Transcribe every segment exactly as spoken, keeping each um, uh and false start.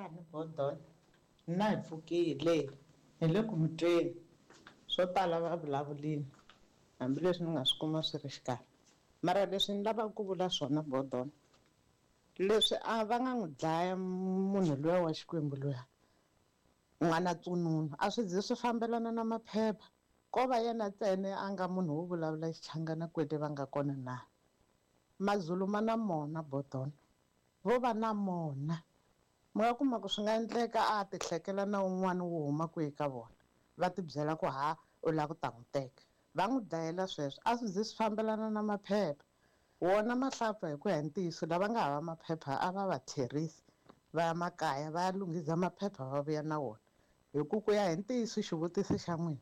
Minjhani Bodon? Na hi pfukile hi le ku mi tweni swo tala va vulavulini hambileswi ni nga swi kuma swi ri xikarhi mara leswi ni lavaka ku vula swona Bodon leswi a va nga n'wi dlaya munhu luya wa Xikwembu luya n'wana Tsununu a swi zi swi fambelana na maphepha ko va yena ntsena a nga munhu wo vulavula Xichangana kwele va nga kona na Mazulu ma na mona Bodon vo va na mona mi nga kuma ku swi nga endleka a ti hlekela na un'wana wo huma kwihi ka vona va ti byela ku ha u lava ku ta n'wi teka va n'wi dlayela sweswo a swi zi swi fambelana na maphepha wona mahlapfa hi ku ya hi ntiyiso lava nga hava maphepha a va va tlherisi va ya makaya va ya lunghisa maphepha va vuya na wona hi ku ku ya hi ntiyiso xivutiso xa n'wina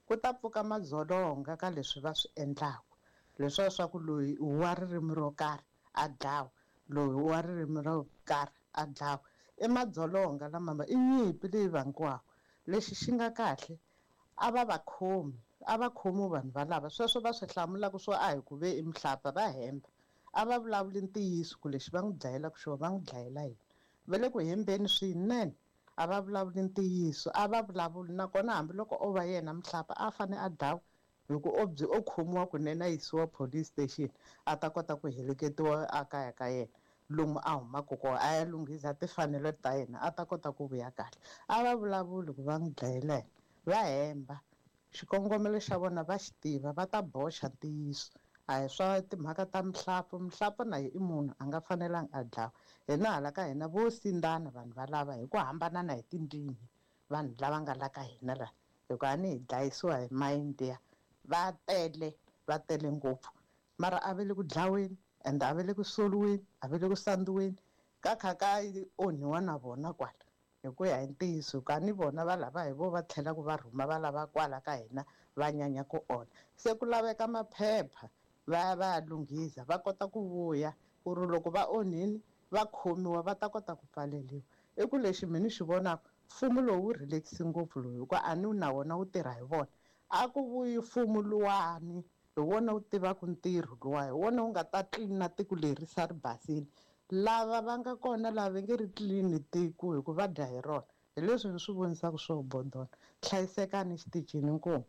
ku ta pfuka madzolonga ka leswi va swi endlaka leswiya swa ku loyi i wa ririmi ro karhi a dlawa loyi wa ririmi ro karhi a dlawa i madzolonga lama i nyimpi leyi vangiwaka lexi xi nga kahle a va va khomi a va khomi vanhu valava sweswo va swi hlamulaka swo a hi ku ve i mihlapfa va hemba a va vulavuli ntiyiso ku lexi va n'wi dlayelaka xona va n'wi dlayela yini va le ku hembeni swinene a va vulavuli ntiyiso a va vulavuli nakona hambiloko o va yena mihlapfa a fane a dlawa hi ku o byi o khomiwa kunene a yisiwa police station a ta kota ku heleketiwa a kaya ka yena lomu a humaka kona a ya lunghisa timfanelo ta yena a ta kota ku vuya kahle a va vulavuli ku va n'wi dlayela yena va hemba xikongomelo xa vona va xi tiva va ta boxa ntiyiso a hi swa timhaka ta mihlapfa mihlapfa na ye i munhu a nga fanelanga a dlawa hina hala ka hina vo sindzana vanhu valava hi ku hambanana hi tindzimi vanhu lava nga la ka hina la hikuva a ni hi dlayisiwa hi mayindiya va tele va tele ngopfu mara a va le ku dlaweni ende a va le ku soliweni a va le ku sandziweni ka kha ka onhiwa na vona kwala hi ku ya hi ntiyiso ka ni vona va lava hi vo va tlhelaka va rhuma va lava kwala ka hina va nyanya ku onha se ku laveka maphepha va ya va ya lunghisa va kota ku vuya ku ri loko va onhini va khomiwa va ta kota ku pfaleriwa i ku lexi mina ni xi vonaka mfumo lowu wu relax ngopfu lowu hikuva a ni na wona wu tirha hi vona a ku vuyi mfumo luwani hi wona wu tivaka ntirho luwa hi wona wu nga ta tlilina tiko leri sa ri basile lava va nga kona lava nge ri tlilini tiko hikuva va dya hi rona hi leswi ni swi vonisaka swo Bodona hlayisekani xitichini inkomu.